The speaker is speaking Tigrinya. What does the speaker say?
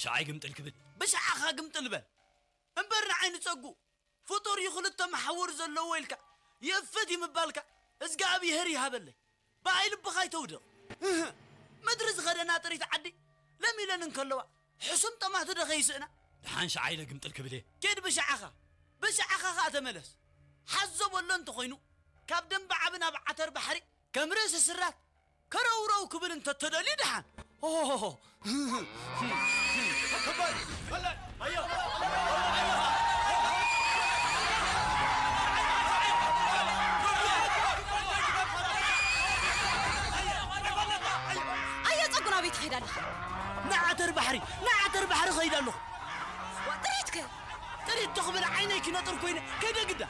ቻይ ግምጥል ክብል። ብሻዕኻ ግምጥል በል። እምበር ንዓይ ንጸጉ ፍጡር እዩ ክልተ መሓውር ዘለዎ ኢልካ የፍት ይምባልካ እዝጋብሄር ይሃበለይ። ብኣይ ልብኻ ኣይተውድቕ። እህ፣ ምድሪ ዝኸደና ጥሪት ዓዲ ለሚለን እንከለዋ ሕሱም ጠማት ዶ ከይስእና? ደሓን ሻዓ ኢለ ግምጥል ክብል እየ። ኬድ ብሻዕኻ፣ ብሻዕኻ ኸኣ ተመለስ። ሓዞ በሎ እንተኾይኑ ካብ ደንበ ዓቢ ናብ ዓተር ባሕሪ ከም ርእሲ ስራት ከረውረው ክብል እንተተደልዩ ደሓን። ኦሆሆሆ። ኣየ ጸጉ ናበይ ትኸይድ ኣለኻ? ንዓተር ባሕሪ፣ ንዓተር ባሕሪ ኸይድ ኣለኹ። ዋ፣ ጥሪትከ? ጥሪት ተኽብል ዓይነይ ክነጥር ኮይነ ከይደ ግዳ።